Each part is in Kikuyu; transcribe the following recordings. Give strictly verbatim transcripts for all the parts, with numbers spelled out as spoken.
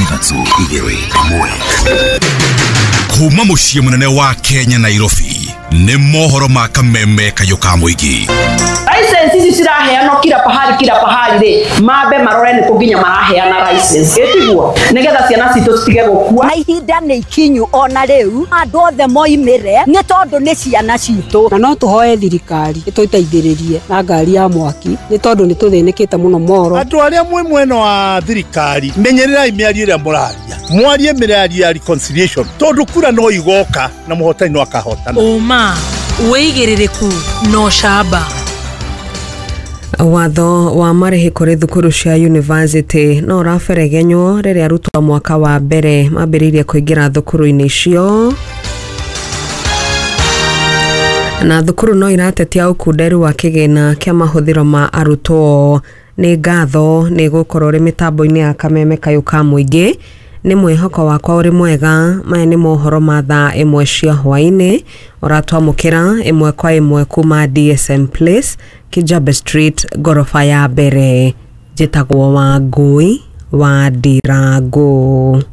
Ithatũ igĩrĩ ĩmwe. Kuma mũciĩ mũnene wa Kenya, Nairobi, nĩ mohoro ma kameme kayũ ka mũingĩ. License ici ciraheanwo kila pahali kila pahali rĩ, mambe marore nĩ kũ nginya maraheana license, ĩtiguo nĩgetha ciana citũ citige gũkua. Na ihinda nĩ ikinyu ona rĩu andũ othe moimĩre nĩ tondũ nĩ ciana citũ. Na no tũhoe thirikari ĩtũteithĩrĩrie na ngari ya mwaki nĩ tondũ nĩ tũthĩnĩkĩte mũno moro. Andũ arĩa mwĩ mwena wa thirikari, menyererai mĩario ĩrĩa mũraria, mwarie mĩario ya reconciliation, tondũ kura no igoka na mũhotani no akahotana. Ũma, wĩigĩrĩrĩku na ũcamba. Watho wa marĩhi kũrĩ thukuru cia university no ũraberegenywo rĩrĩa arutwo a mwaka wa mbere mambĩrĩirie kũingĩra thukuru-inĩ icio, na thukuru no iratetia ũkunderu wa kĩgĩna kĩa mahũthĩro ma arutwo. Nĩ ngatho nĩ gũkorwo ũrĩ mĩtambo-inĩ ya kameme kayũ ka mũingĩ. Nĩ mwĩhoko wakwa ũrĩ mwega. Maya nĩ mohoro ma thaa ĩmwe cia hwaĩ-inĩ, ũratwamũkĩra ĩmwe kwa ĩmwe kuma D S M Place, Kijabe Street, ngoroba ya mbere. Njĩtagwo Wangui wa Ndirangu.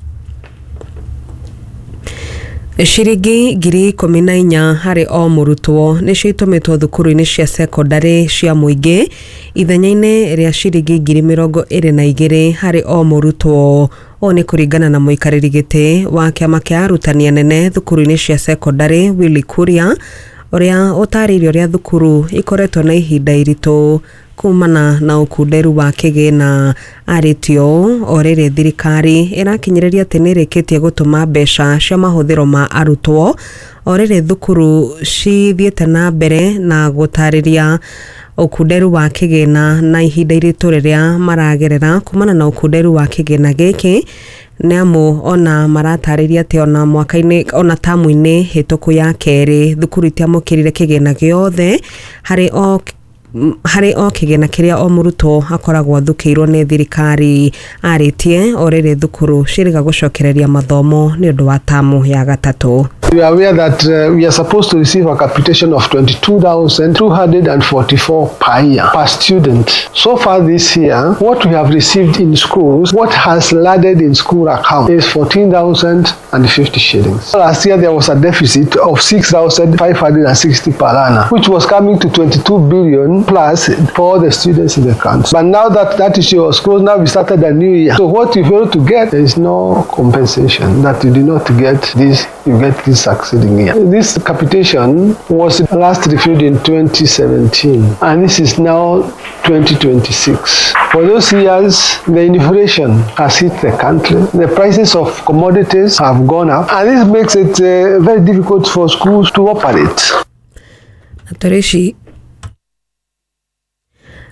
Ciringi ngiri ikũmi na inya harĩ o mũrutwo nĩcio itũmĩtwo thukuru-inĩ cia sekondarĩ cia mũingĩ ithenya-inĩ rĩa ciringi ngiri mĩrongo ĩrĩ na igĩrĩ harĩ o mũrutwo. Ũũ nĩ kũringana na mũikarĩri gĩtĩ wa kĩama kĩa arutani anene thukuru-inĩ cia sekondarĩ, Willy Kuria, ũrĩa ũtarĩirie ũrĩa thukuru ikoretwo na ihinda iritũ kumana na ũkunderu wa kĩgĩna. Arĩtie ũũ o rĩrĩ thirikari ĩrakinyĩrĩria atĩ nĩ ĩrĩkĩtie gũtũma mbeca cia mahũthĩro ma arutwo, o rĩrĩ thukuru cithiĩte na mbere na gũtarĩria ũkunderu wa kĩgĩna na ihinda iritũ rĩrĩa maragerera kumana na ũkunderu wa kĩgĩna gĩkĩ, nĩ amu ona maratarĩria atĩ ona mwaka-inĩ ona tamu-inĩ hĩtũku ya kerĩ thukuru itiamũkĩrire kĩgĩna gĩothe harĩ o harĩ o kĩgĩna kĩrĩa o mũrutwo akoragwo athukĩirwo nĩ thirikari. Arĩtie o rĩrĩ thukuru ciĩrĩga gũcokereria mathomo nĩ ũndũ wa tamu ya gatatũ. We are aware that uh, we are supposed to receive a capitation of twenty-two thousand two hundred forty-four per year per student. So far this year, what we have received in schools, what has landed in school account is fourteen thousand fifty shillings. Last year there was a deficit of six thousand five hundred sixty per learner, which was coming to twenty-two billion plus for the students in the country. But now that that issue was closed, now we started a new year. So what you fail to get, there is no compensation that you did not get this, you get this succeeding year. This capitation was last reviewed in twenty seventeen, and this is now twenty twenty-six. For those years, the inflation has hit the country. The prices of commodities have gone up, and this makes it uh, very difficult for schools to operate. Na tũrĩ ici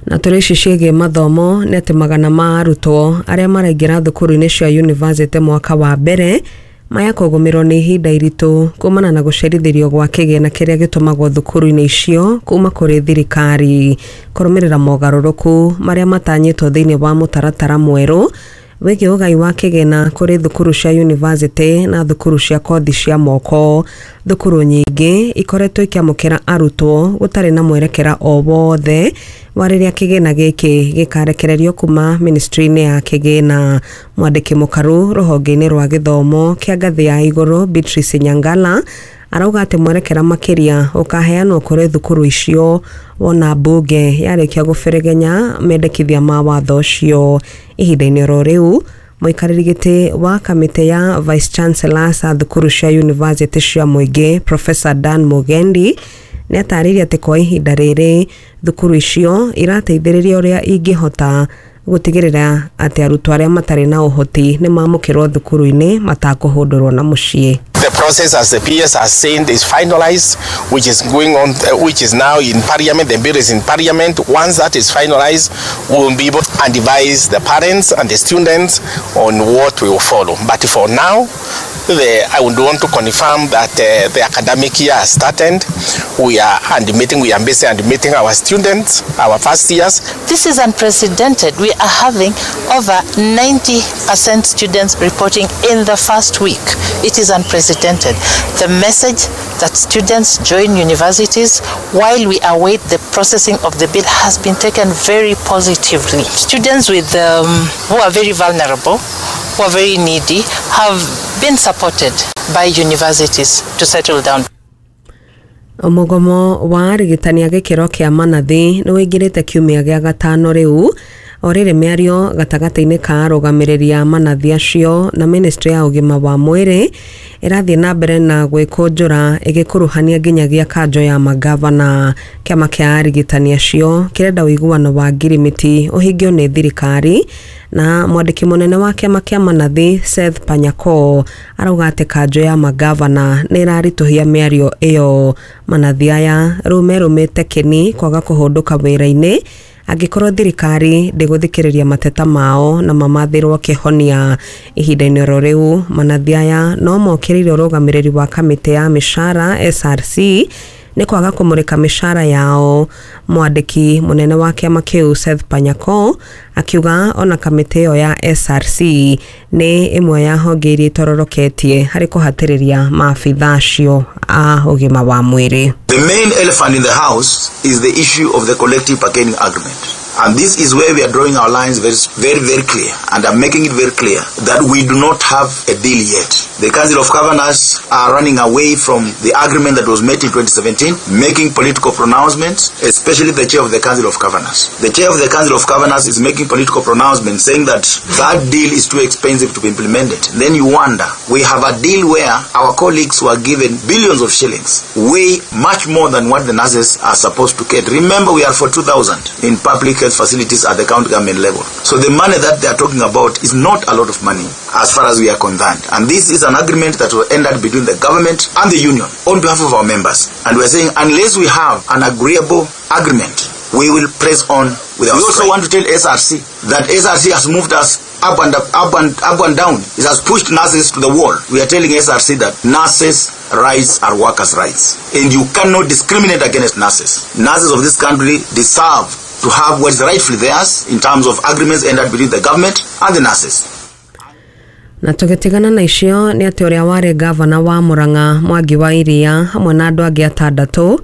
na tũrĩ ici ciĩgiĩ mathomo nĩ atĩ magana ma arutwo arĩa maraingĩra thukuru-inĩ cia university mwaka wa mbere maya kũgũmĩrwo nĩ ihinda iritũ kumana na gũcerithĩrio gwa kĩgĩna kĩrĩa gĩtũmagwo thukuru-inĩ icio kuma kũrĩ thirikari, kũrũmĩrĩra mogarũrũku marĩa matanyĩtwo thĩinĩ wa mũtaratara mwerũ wĩgiĩ ũgai wa kĩgĩna kũrĩ thukuru cia university na thukuru cia kothi cia moko. Thukuru nyingĩ ikoretwo ikĩamũkĩra arutwo gũtarĩ na mwerekera o wothe wa rĩrĩa kĩgĩna gĩkĩ gĩkarekererio kuma ministry-inĩ ya kĩgĩna. Mwandĩki mũkaru rũhonge-inĩ rwa gĩthomo kĩa ngathĩ ya igũrũ, Beatrice Nyangala, arauga atĩ mwerekera makĩria ũkaheanwo kũrĩ thukuru icio wona mbunge yarĩkia gũberegenya mendekithia ma watho ũcio. Ihinda-inĩ oro rĩu, mũikarĩri gĩtĩ wa kamĩtĩ ya vice chancellors a thukuru cia university cia mũingĩ, Professor Dan Mugendi, nĩ atarĩirie atĩ kwa ihinda rĩrĩ thukuru icio irateithĩrĩria ũrĩa ingĩhota gũtigĩrĩra atĩ arutwo arĩa matarĩ na ũhoti nĩ mamũkĩrwo thukuru-inĩ matakũhũndũrwo na mũciĩ. The process, as the P S has said, is finalized, which is going on, uh, which is now in Parliament. The bill is in Parliament. Once that is finalized, we will be able to advise the parents and the students on what we will follow. But for now, the, I would want to confirm that uh, the academic year has started. We are admitting, we are busy admitting our students, our first years. This is unprecedented. We are having over ninety percent students reporting in the first week. It is unprecedented. The message that students join universities while we await the processing of the bill has been taken very positively. Students with um, who are very vulnerable who are very needy have been supported by universities to settle down. Mũgomo wa arigitani a gĩkĩro kĩa manathi nĩ wĩingĩrĩte kiumia gĩa gatano rĩu o rĩrĩ mĩario gatagatĩ-inĩ ka arũgamĩrĩri a manathi acio na ministry ya ũgima wa mwĩrĩ ĩrathiĩ na mbere na gwĩkũnjũra ĩgĩkuruhania nginyagia kanjo ya magavana. Kĩama kĩa arigitani acio kĩrenda ũiguano wa ngirimiti ũhingio nĩ thirikari na mwandĩki mũnene wa kĩama kĩa manathi Seth Panyako arauga atĩ kanjo ya magavana nĩ ĩraritũhia mĩario ĩyo. Manathi aya rĩu merũmĩte kĩni kwaga kũhũndũka wĩra-inĩ angĩkorwo thirikari ndĩgũthikĩrĩria mateta mao na mamathĩrwo kĩhonia. Ihinda-inĩ oro rĩu manathi aya no mokĩrĩire ũrũgamĩrĩri wa kamĩtĩ ya mĩcara S R C nĩ kwaga kũmũrĩka mĩcara yao. Mwandĩki mũnene wa kĩama kĩu Seth Panyako akiuga ona kamĩtĩ ĩyo ya S R C nĩ ĩmwe ya honge iria itororoketie harĩ kũhatĩrĩria maabitha acio a ũgima wa mwĩrĩ. The main elephant in the house is the issue of the collective bargaining agreement. And this is where we are drawing our lines very, very, very clear. And I'm making it very clear that we do not have a deal yet. The Council of Governors are running away from the agreement that was made in twenty seventeen, making political pronouncements, especially the chair of the Council of Governors. The chair of the Council of Governors is making political pronouncements saying that that deal is too expensive to be implemented. Then you wonder, we have a deal where our colleagues were given billions of shillings, way much more than what the nurses are supposed to get. Remember, we are for two thousand in public health facilities at the county government level. So the money that they are talking about is not a lot of money as far as we are concerned. And this is an agreement that was entered between the government and the union on behalf of our members. And we are saying unless we have an agreeable agreement, we will press on with our We also want to tell S R C that S R C has moved us up and up, up and up and down. It has pushed nurses to the wall. We are telling S R C that nurses' rights are workers' rights, and you cannot discriminate against nurses. Nurses of this country deserve to have what is rightfully theirs in terms of agreements entered between the government and the nurses. Na tũgĩtigana na icio nĩ atĩ ũrĩa warĩ gavana wa Murang'a Mwangi wa Iria hamwe na andũ angĩ atandatũ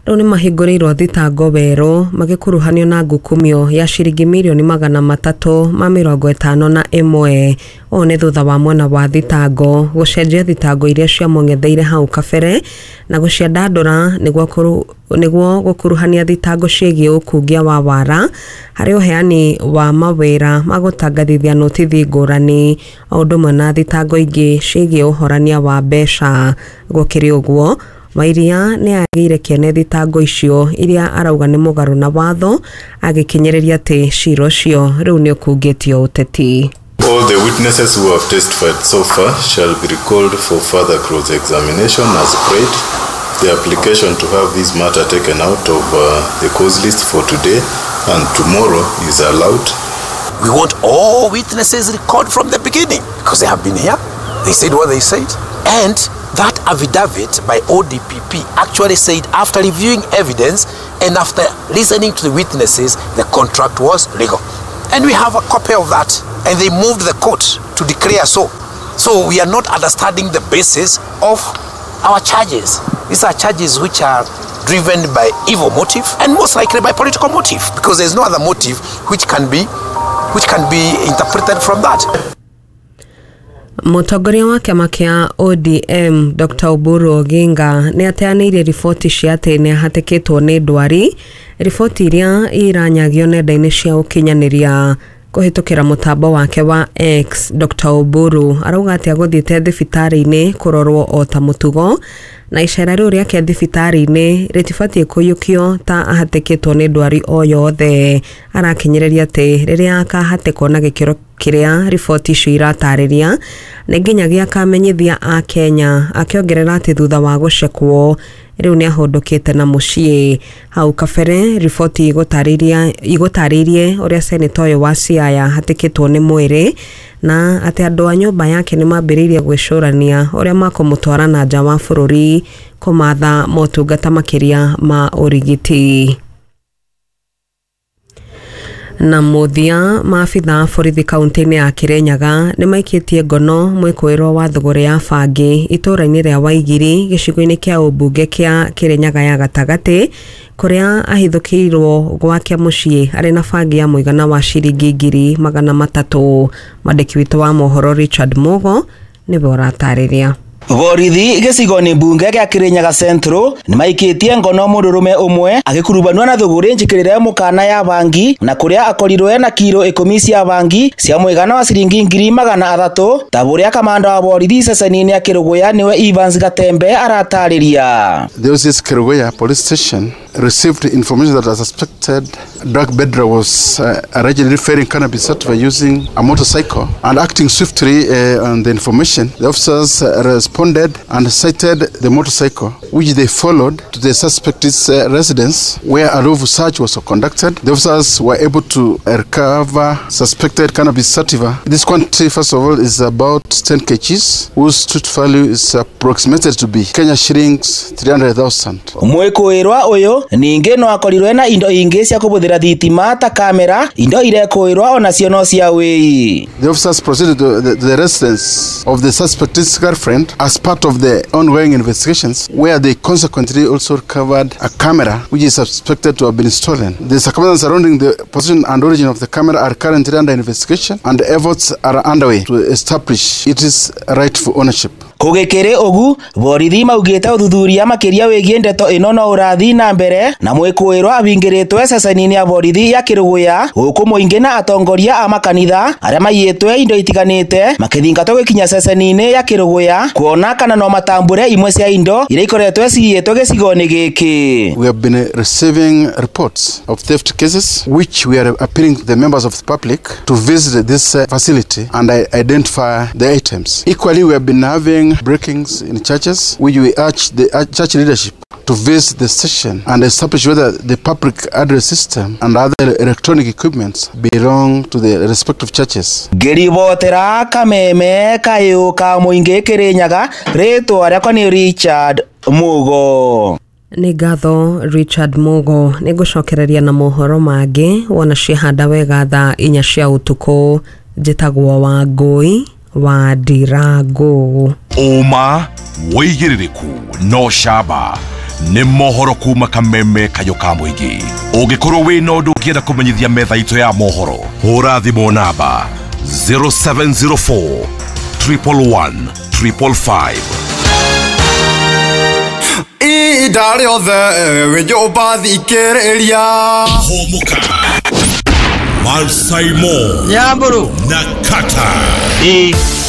rĩu nĩ mahingũrĩirwo thitango werũ magĩkuruhanio na ngukumio ya ciringi mirioni magana matatũ ma mĩrongo ĩtano na ĩmwe. Ũũ nĩ thutha wa mwena wa thitango gũcenjia thitango iria ciamũng'etheire hau kabere na gũciandandũra nĩguo nĩguo gũkuruhania thitango ciĩgiĩ ũkungia wa wara harĩ ũheani wa mawĩra ma gũtangathithia notithi ngũrani o ũndũ ũmwe na thitango ingĩ ciĩgiĩ ũhorania wa mbeca. Gũkĩrĩ ũguo Wairia nĩ agĩire kĩene thitango icio iria arauga nĩ mũgarũ na watho agĩkinyĩrĩria atĩ cira ũcio rĩu nĩ ũkungĩtio ũteti. All the witnesses who have testified so far shall be recalled for further cross-examination as prayed. The application to have this matter taken out of uh, the cause list for today and tomorrow is allowed. We want all witnesses recalled from the beginning because they have been here, they said what they said, and that affidavit by O D P P actually said after reviewing evidence and after listening to the witnesses, the contract was legal. And we have a copy of that. And they moved the court to declare so. So we are not understanding the basis of our charges. These are charges which are driven by evil motive and most likely by political motive, because there's no other motive which can be, which can be interpreted from that. Mũtongoria wa kĩama kĩa O D M Doctor Oburu Oginga nĩ ateanĩirie riboti cia atĩ nĩ ahatĩkĩtwo nĩ ndwari, riboti iria iranyagio nenda-inĩ cia ũkinyanĩria kũhĩtũkĩra mũtambo wake wa X. Doctor Oburu arauga atĩ agũthiĩte thibitarĩ-inĩ kũrorwo o ta mũtugo na icera rĩu rĩake thibitarĩ-inĩ rĩtibatiĩ kũiyũkio ta ahatĩkĩtwo nĩ ndwari o yothe. Arakinyĩrĩria atĩ rĩrĩa akahatĩkwo na gĩkĩro kĩrĩa riboti icio iratarĩria nĩ nginyagia akamenyithia a Kenya, akĩongerera atĩ thutha wa gũcekwo rĩu nĩ ahũndũkĩte na mũciĩ. Hau kabere riboti igũtarĩria igũtarĩirie ũrĩa seneta ũyũ wa Siaya ahatĩkĩtwo nĩ mwĩrĩ na atĩ andũ a nyũmba yake nĩ mambĩrĩirie gwĩcũrania ũrĩa makũmũtwara na nja wa bũrũri kũmatha motungata makĩria ma ũrigiti. Na muthia maabitha a borithi kaunti-inĩ ya Kirinyaga nĩ maikĩtie ngono mwĩkũĩrwo wa thũgũrĩ ya bangi itũũra-inĩ rĩa Waigiri gĩcigo-inĩ kĩa ũmbunge kĩa Kirinyaga ya gatagatĩ kũrĩa ahithũkĩirwo gwake mũciĩ arĩ na bangi ya mũigana wa ciringi ngiri magana matatũ. Mwandĩki witũ wa mohoro Richard Mugo nĩwe ũratarĩria. Borithi gĩcigo-inĩ mbunge gĩa Kirinyaga Central nĩmaikĩtie ngono mũndũrũme ũmwe agĩkurubanio na thũgũrĩ njĩkĩrĩre mũkana ya bangi na kũrĩa akorirwo na kiro ikũmi cia bangi cia mũigana wa ciringi ngiri magana athatũ ta ũrĩa kamanda wa borithi ceceni-inĩ ya Kĩrũgũya nĩwe Evans Gatembe aratarĩria. The O C S Kĩrũgũya police station received information that a suspected drug peddler was uh, allegedly ferrying cannabis sativa using a motorcycle, and acting swiftly uh, on the information, the officers uh, responded and sighted the motorcycle, which they followed to the suspect's uh, residence, where a lawful search was conducted. The officers were able to recover suspected cannabis sativa. This quantity, first of all, is about ten kilograms, whose street value is approximated to be Kenya shillings three hundred thousand. Mwĩkũĩrwa ũyũ ningĩ no akorirwe na indo ingĩ cia kũbũthĩra thitima ta kamera, indo irekũĩrwa onacio no cia wĩi. The officers proceeded to the, the residence of the suspect's girlfriend as part of the ongoing investigations, where they consequently also recovered a camera which is suspected to have been stolen. The circumstances surrounding the position and origin of the camera are currently under investigation, and efforts are underway to establish its rightful ownership. Kũgĩkĩrĩ ũgu borithi maugĩte ũthuthuria makĩria wĩgiĩ ndeto ĩno no ũrathiĩ na mbere na mwĩkũĩrwo ahingĩrĩtwe ceceni-inĩ ya borithi ya Kĩrũgũya gũkũ mũingĩ na atongoria a makanitha arĩa maiyĩtwe indo itiganĩte makĩthingatwo gũkinya ceceni-inĩ ya Kĩrũgũya kuona kana no matambũre imwe cia indo iria ikoretwe ciyĩtwe gĩcigo-inĩ gĩkĩ. We have been receiving reports of theft cases which we are appealing to the members of the public to visit this facility and identify the items. Equally, we have been having breakings in churches, which we urge the church leadership to visit the station and establish whether the public address system and other electronic equipments belong to the respective churches. Ngĩribotera Kameme kayũ ka mũingĩ Kĩrĩnyaga, rĩtwa rĩakwa nĩ Richard Mugo. Nĩ ngatho Richard Mugo. Nĩ ngũcokereria na mohoro mangĩ wona ciahanda wega thaa inya cia ũtukũ. Njĩtagwo Wangũi wa Ndirango. Ũma wĩigĩrĩrĩku no camba nĩ mohoro kuma Kameme kayũ ka mũingĩ. Ũngĩkorwo wĩna ũndũ ũngĩenda kũmenyithia metha itũ ya mohoro, hũra thimũ namba zero seven zero four triple one triple five. Ihinda rĩothe wĩ nyũmba thikĩrĩria. Hũmũka Malsaimo Nyamburu na Kata.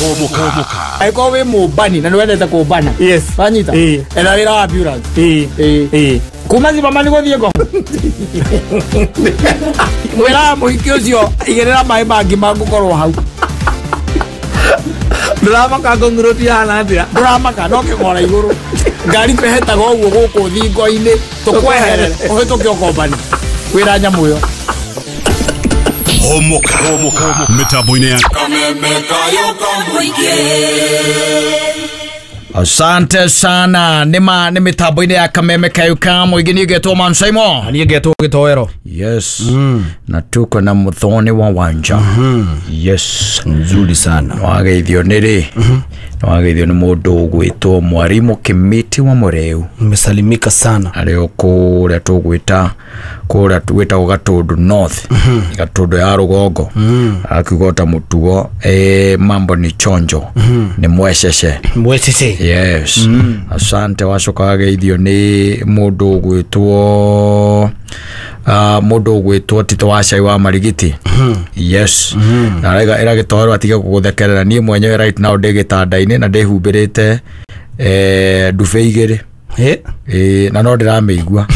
Hũmũka. Angĩkorwo wĩ mũmbani na nĩwendete kũmbana, yes, wanyita etha wĩra wa ambulance. Ĩĩ kuma Zimmerman gũthiĩ Ngong mwĩraga mũhiki ũcio igĩrĩra maĩ mangĩ mangũkorwo hau. Ndũramaka Ngong Road ihana atĩa? Ndũramaka no kĩgora igũrũ ngari twehetaga ũguo gũkũ thingo-inĩ tũkweherere ũhĩtũke ũkombani wĩra nyamũ ĩyo. Hũmũka mĩtambo-inĩ ya Kameme kayũ ka mũingĩ. Asante sana. Nĩma nĩ mĩtambo-inĩ ya Kameme kayũ ka mũingĩ. Niĩ ngetwo Man Simon. Niĩ ngetwo Gĩtoero. Yes. Mm. Na tuko na Muthoni wa Wanja. Mm -hmm. Yes. Nzuri sana. Wageithio nĩ rĩ? Mm -hmm. Wageithio nĩ mũndũ ũgwĩtwo Mwarimu Kimiti wa Mũreu. Nimesalimika sana. Arĩ o kũrĩa tũgwĩta kũrĩa gwĩtagwo Gatũndũ North. Mm -hmm. Gatũndũ ya rũgongo. Mm -hmm. Akiuga ta mũtugo eh, mambo ni chonjo. Mm -hmm. Nĩ mwecece. Mwecece. Yes. Mm. Asante. Wacoka wageithio nĩ mũndũ ũgwĩtwo Uh, mũndũ ũgwĩtwo Tito wa Cai wa Marigiti. Mm -hmm. Yes. Mm -hmm. Na rega ĩra Gĩtoero atige gũgũthekerera. Niĩ mwenyewe right now ndĩ gĩtanda-inĩ na ndĩhumbĩrĩte eh, ndube igĩrĩ. Eh? Eh, na no ndĩramĩigua.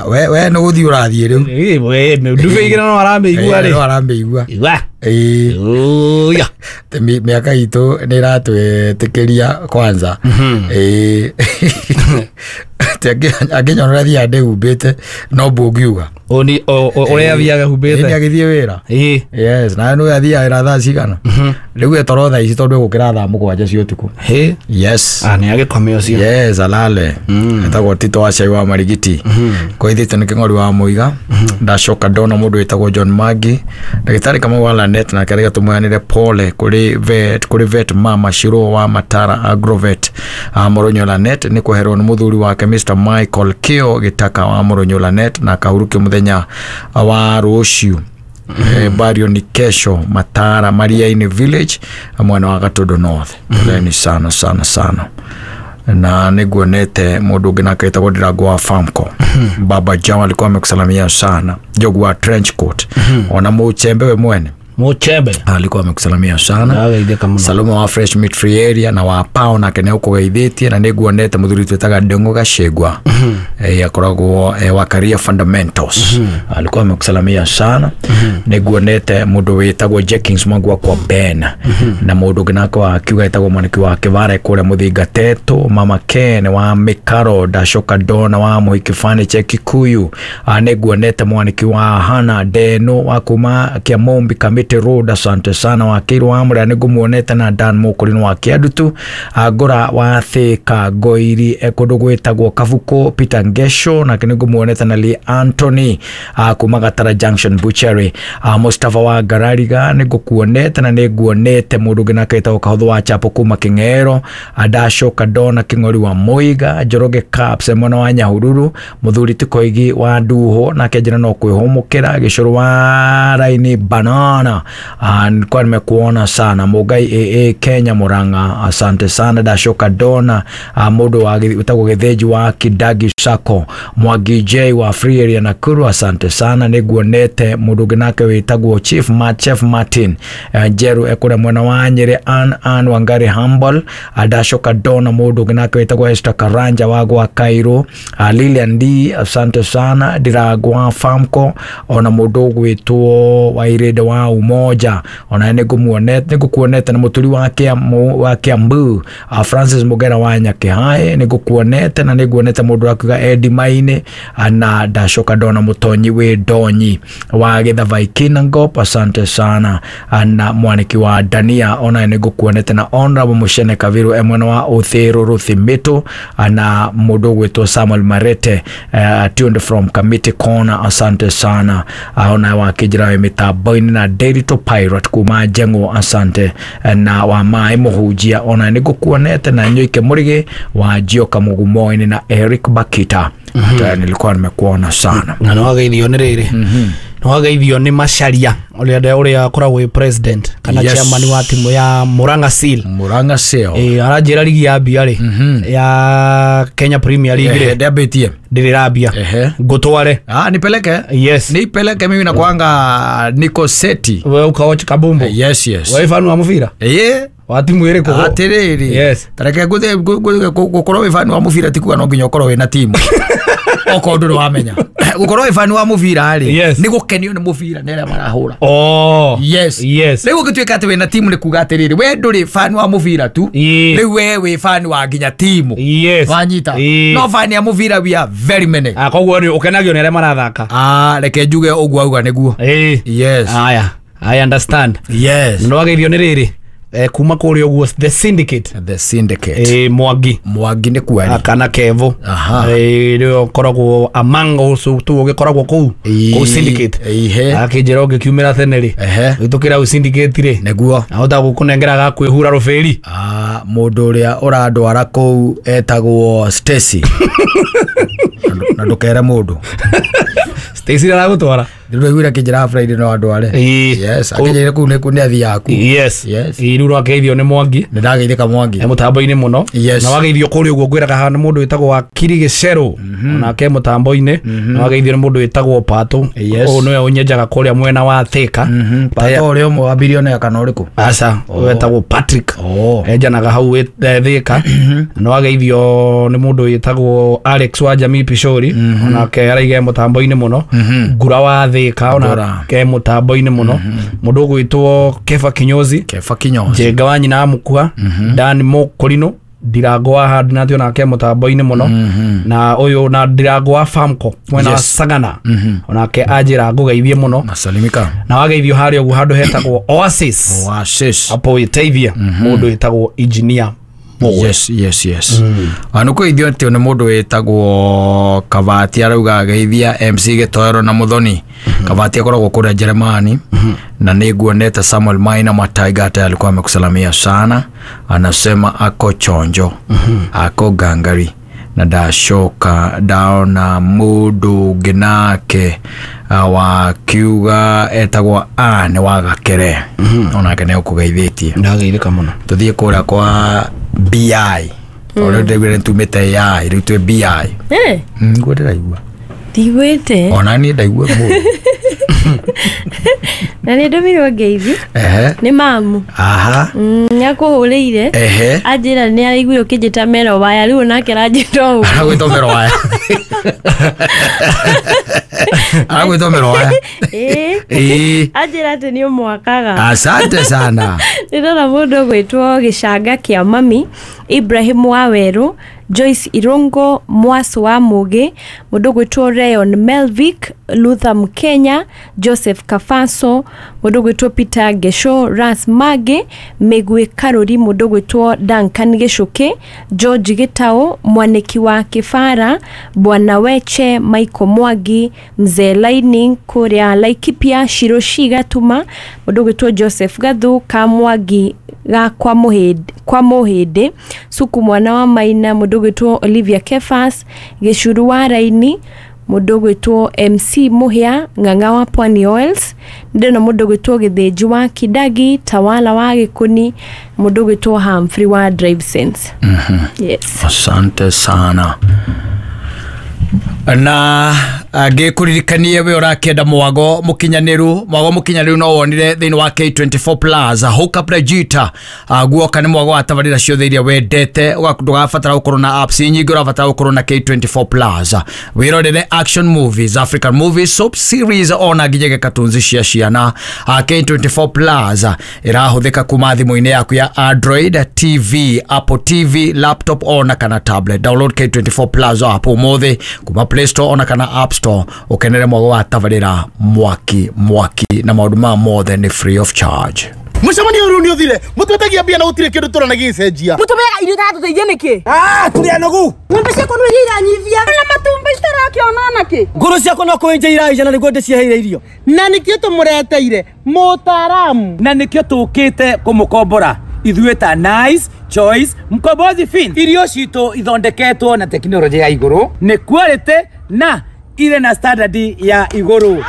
We we nĩ gũthiĩ ũrathiĩ rĩu. We ndube igĩrĩ no aramĩigua rĩ. No aramĩigua. Igua. Eh. Oya. Mĩaka itũ nĩ ĩratwĩtĩkĩria kwanza. Eh. Ati angĩnyona ũrĩa thiaga ndĩhumbĩte no mbũngiuga ũrĩa athiaga humbĩte nĩ agĩthiĩ wĩra. Yes, na nĩ athiaga wĩra thaa cigana rĩu etoro thaa ici tondũ egũkĩra thaa mũgwanja cia ũtukũ. Yes, nĩ agĩkome ũcio. Yes, alale. Etagwo Tito wa Cai wa Marigiti koithĩte nĩ kĩng'ori wa Mũiga. Ndacoka ndona mũndũ wĩtagwo John Magi ndagĩtarĩ Kamau wa Lanet nake arĩa tũmũheanĩre pole kũrĩ vet kũrĩ vet mama Shiro wa Matara Agrovet Mũrũnyo Lanet nĩ kweherwo nĩ mũthuri wake Mister Michael Kio Gĩtaka wa Mũrũnyo Lanet na akahurũkio mũthenya wa rũciũ. Bario ni kesho Matara Mariaini Village mwena wa Gatundo North. Poleni sana sana sana. Na niguonete mundu ungi nake etagwo Ndirango wa Farmco. Baba Jama alikuwa amekusalamia sana. Jogu wa trench coat. Ona muchembe we mwene Muchembe alikuwa amekusalamia sana. Salome wa Fresh Meat Free Area na wa Pao nake nĩ ũkũgeithĩtie na nĩguonete mũthuri twĩtaga Ndung'u Gacĩgwa eh akoragwo eh, wa Career Fundamentals alikuwa amekusalamia sana. Nĩguonete mũndũ wĩtagwo Jenkins Mwangu kwa Ben na mũndũ ũngĩ nake wa kiuga etagwo mwaniki wa Kĩvare kũrĩa Mũthinga Teto Mama Ken wa Mikaro Ndacoka Dona wa Mũhiki Furniture Kikuyu. Nĩguonete mwaniki wa Hana Deno wa kuma Kĩamombi Kamiti Road, asante sana. Wa Kĩirũ wa Mũrĩa nĩngũmuonete na Dan Mũkũrinũ wa Kĩandutu Ngũra wa Thĩka Ngoiri kũndũ gwĩtagwo Kabuko Peter Ngesho nake nĩngũmuonete na Lee Anthony kuma Gatara Junction Butchery. Mustafa wa Ngarariga nĩngũkuonete na nĩnguonete mũndũ ũngĩ nake wĩtagwo Kahũthũ wa Chapo kuma Kĩng'ero. Ndacoka ndona Kĩng'ori wa Mũiga Njoroge Caps mwena wa Nyahururu mũthuri Tikoigi wa Nduho nake njĩra no kwĩhũmũkĩra Gĩcũrũ wa Raini Banana nilikuwa nimekuona sana. Mugai A A Kenya Murang'a asante sana. Ndacoka ndona mũndũ wa wĩtagwo Gĩthĩnji wa Kidagi Sacco Mwangi J wa Free Area Nakuru asante sana. Nĩguonete mũndũ ũngĩ nake wĩtagwo Chief Ma Chef Martin Njeru ekũrĩa mwena wa Nyĩrĩ Ann Ann Wangari Humble. Ndacoka ndona mũndũ ũngĩ nake wĩtagwo Esther Karanja wa gwa Cairo Lilian D asante sana. Ndiragwa Farmco ona mũndũ ũgwĩtwo Wairĩnde wa Umoja ona nĩngũmuonete nĩngũkuonete na mũturi wa Kĩamũ wa Kĩambu Francis Mugera wa Nyakĩhae nĩngũkuonete na nĩnguonete mũndũ wakuga Eddie Maine na ndacoka ndona mũtonyi wĩ Ndonyi wa Gĩthavai Kinangop asante sana na mwaniki wa Dania ona nĩngũkuonete na Honorable Mushene Kaviru mwena wa Ũthĩrũ Rũthimĩtũ na mũndũ ũgwĩtwo Samuel Marete uh, tuned from Committee Corner asante sana ona wa Kĩnjĩra wĩ mĩtambo-inĩ na Derito Pirate kuma Njengo asante na wa Maĩ Mũhunjia ona nĩngũkuonete na Nyoike Mũrĩgĩ wa Njioka Mũgumo-inĩ na Eric Bakita. Mm -hmm. Nilikuwa nimekuona sana na nĩwageithio nĩ rĩrĩ nĩwageithio nĩ Macharia ũrĩa ũrĩa akoragwo wĩ president kana yes. chairman wa timu ya Murang'a Seal. Murang'a Seal eh aranjĩra ligi ya mbia rĩ ya Kenya Premier League rĩ ndĩambĩtie ndĩrĩrambia ngũtware. Ah, nipeleke. Yes, nipeleke mimi nakwanga niko seti wewe ukaoch kabumbu. Yes, yes, wewe fanu wa mũbira eh wa timu ĩrĩkũ atirĩrĩ. Yes, tareke ngũthiĩ gũkorwo wĩ fan wa mũbira ti kuga no nginya ũkorwo wĩna timu okorwo ndũrĩ wamenya gũkorwo wĩ fan wa mũbira rĩ nĩ gũkenio nĩ mũbira nĩ arĩa marahũra. Oh yes, yes. Rĩu ũngĩtuĩka atĩ wĩna timu nĩ kuga atĩrĩrĩ we ndũrĩ fan wa mũbira tu rĩu we wĩ fan wa nginya timu. Yes, wanyita no fan ya mũbira we are very many. Ah, koguo nĩ ũkenagio nĩ arĩa marathaka. Ah, reke njuge ũguo auga nĩguo. Yes, aya I understand. Yes, nĩwageithio nĩ rĩrĩ eh, kuma kũrĩa ũguo the syndicate the syndicate eh, Mwangi Mwangi nĩ kwari kana Kevo eh nĩwe ũkoragwo among also tu ũgĩkoragwo kũu kũu syndicate akĩnjĩra ũngĩkiumĩra tene rĩ ũhĩtũkĩra hau syndicate rĩ nĩguo ahota gũkũnengera ga kwĩhura rũbĩri. Ah, mũndũ ũrĩa ũrandwara kũu etagwo Stacy na ndũkere mũndũ Stacy aragũtwara ndĩraiguire akĩnjĩra Friday no andware. Yes, akĩnjĩra kũu nĩ nĩ athiaga kũu. Yes, yes. Rĩu rwageithio nĩ Mwangi nĩndageithĩka Mwangi e mũtambo-inĩ mũno. Yes. Na wageithio kũrĩa ũguo ngwĩraga haha nĩ mũndũ wĩtagwo Wakiri Gĩcerũ onake mũtambo-inĩ na wageithio nĩ mũndũ wĩtagwo Patũ ũyũ nĩwe ũnyenjaga kũrĩa mwena wa Thĩka. Patũ ũrĩa ũmwe wa bilionea kana ũrĩkũ? Aca, wetagwo Patrick enjanaga hau Thĩka. Na wageithio nĩ mũndũ wĩtagwo Alex wa Jamii Pishori onake araiga mũtambo-inĩ mũno. Ngura wa Thĩka onake mũtambo-inĩ mũno. Mũndũ ũgwĩtwo Kefa Kinyozi Kefa Kinyozi Njenga wa nyina wa Mũkua Dan Mũkũrinũ Ndirango wa Hardnat onake mũtambo-inĩ mũno na ũyũ na Ndirango wa Famco mwena wa Yes. Sagana Mhm. onake anjĩra ngũgeithie mũno nasalimika na wageithio harĩa ũguo handũ hetagwo Oasis Oasis hapo wĩteithia mũndũ wĩtagwo engineer Mũgwe. Yes, yes, yes. Mm. Nä kå ithio atä nä må ndå wä tagwo Kabati arauga ageithia M C Gätoero na Muthoni. Kabati akoragwo kå rä a Jeremani na nä nguonete Samuel Maina Mataiga hata alikuwa amekusalamia sana, anasema ako chonjo ako gangari na ndacoka ndaona mundu ũngĩ nake uh, wa kiuga etagwo Anne wa Gakere onake nĩ ũkũgeithĩtie. Ndageithĩka mũno. Tuthiĩ kũrĩa kwa B I ũrĩa ndĩraiguire nĩtumĩte A I rĩu twĩ B I. Eh, Niguo ndĩraigua ndigwĩte ona niĩ ndaigua mũru. Na nĩ ndũmirwo ngeithi Ehe. nĩ mamu. Aha. Mm, nĩakũhũrĩire Ehe. anjĩra nĩ araiguire ũkĩnjĩta mero waya rĩu onake aranjĩta ũguo. Aragwĩta mero waya. Aragwĩta mero waya. Ĩĩ. Ĩĩ. Anjĩra atĩ nĩ ũmwakaga. Asante sana. Ndĩrona mũndũ ũgwĩtwo Gĩcanga kĩa mami Ibrahim wa Werũ, Joyce Irungo, Mwasu wa Mugi, mũndũ ũgwĩtwo Rayon Melvick, Luther Mkenya, Joseph Kafaso, mũndũ ũgwĩtwo Peter Gesho, Ras Mage, Mĩgwĩ Karũri, mũndũ ũgwĩtwo Duncan Gĩcũkĩ, George Gĩtaũ, Mwanĩki wa Kĩbara, Bwana Weche, Michael Mwangi, Mzee Lightning kũrĩa Laikipia, Shiroshi Gatuma, mũndũ ũgwĩtwo Joseph Gathu, Kamwangi ga kwa Mũhĩndĩ, kwa Mũhĩndĩ, Suku mwana wa Maina, mũndũ ũgwĩtwo Olivia Kefas, Gĩcuru wa Raini, mũndũ ũgwĩtwo M C Mũhĩa, Ng'ang'a wa Pwani Oils, ndĩrona mũndũ ũgwĩtwo Gĩthĩnji wa Kidagi, Tawala wa Gĩkũni, mũndũ ũgwĩtwo Humphrey wa Drive Sense. Mhm. Yes. Asante sana. Na ngĩkũririkanie we ũrakĩenda mwago mũkinyanĩru, mwago mũkinyanĩru no wonire thĩinĩ wa K twenty-four Plus Hook Up Regita. Guoka nĩ mwago wa tabarĩra ciothe iria wendete, ndũgabatara gũkorwo na apps nyingĩ, ũrabatara gũkorwo na K twenty-four Plus. Wĩrorere action movies, African movies, soap series ona nginyagia cartoons cia ciana. K twenty-four Plus ĩrahũthĩka kuma thimũ-inĩ yaku ya Android T V, Apple T V, laptop ona kana tablet. Download K twenty-four Plus app ũmũthĩ kuma Play Store ona kana App Store ukenere mwago wa tabarĩra mwaki mwaki na maũndũ ma mothe nĩ free of charge. Mũcemanio ũyũ nĩ ũthire mũtwetagia mbia na gũtirĩ kĩndũ tũrona gĩgĩcenjia. Mũtũmĩaga irio itatũteithia nĩkĩ? Ah, tũrĩ anogu. Ng'ombe ciakwa nĩ iria iranyivia na matumbĩ citarakĩona nakĩ. Ngũrũ ciakwa no kũenja iraija na nĩguo ndĩciheire irio. Na nĩkĩo tũmũreteire mũtaaramu. Na nĩkĩo tũkĩte kũmũkombora ithuĩ ta Nice Choice Mkombozi Fin. Irio citũ ithondeketwo na tekinoronjĩ ya igũrũ, nĩ quality na irĩ na standard ya igũrũ.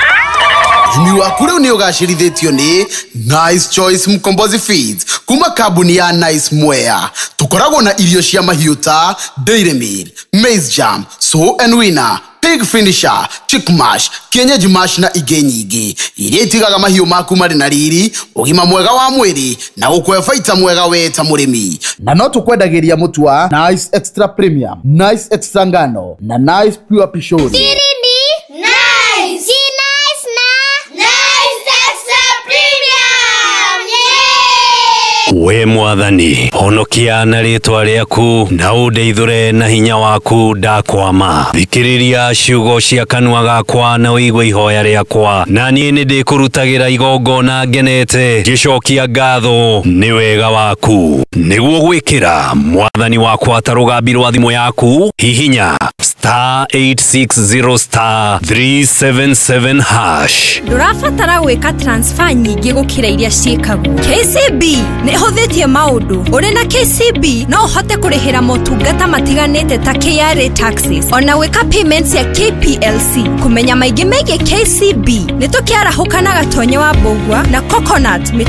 Ũrĩmi waku rĩu nĩ ũgacĩrithĩtio nĩ Nice Choice Mkombozi Feeds kuma kambuni ya Nice Mwea. Tũkoragwo na irio cia mahiũ ta Dairy Meal, Maize Jam, Sow and Winner, Pig Finisher, Chick Mash, Kienyeji Mash na ingĩ nyingĩ iria itigaga mahiũ maku marĩ na riri, ũgima mwega wa mwĩrĩ na gũkũhe baita mwega we ta mũrĩmi. Na no tũkwendagĩria mũtu wa Nice Extra Premium, Nice Extra Ngano na Nice Pure Pishori. Siri ni Nice. Si Nice na Nice Extra Premium. Yeah! We mwathani honokia na rĩtwa rĩaku na ũndeithũre na hinya waku ndakwama. Thikĩrĩria ciugo cia kanua gakwa na ũigue ihoya rĩakwa, na niĩ nĩndĩkũrutagĩra igongona ngenete ngĩcokia ngatho nĩ wega waku. Nĩguo gwĩkĩra mwathani wakwa ta rũgambi rwa thimũ yaku, hihinya star eight six zero star three seven seven hash. Ndũrabatara gwĩka transfer nyingĩ gũkĩra iria ciĩkagwo. K C B nĩ ĩhũthĩtie maũndũ. Ũrĩ na K C B no ũhote kũrĩhĩra motungata matiganĩte ta K R A taxes, ona gwĩka payments ya K P L C. Kũmenya maingĩ megiĩ K C B nĩ tũkĩarahũka na Gatonye wa Mbũgua na Coconut.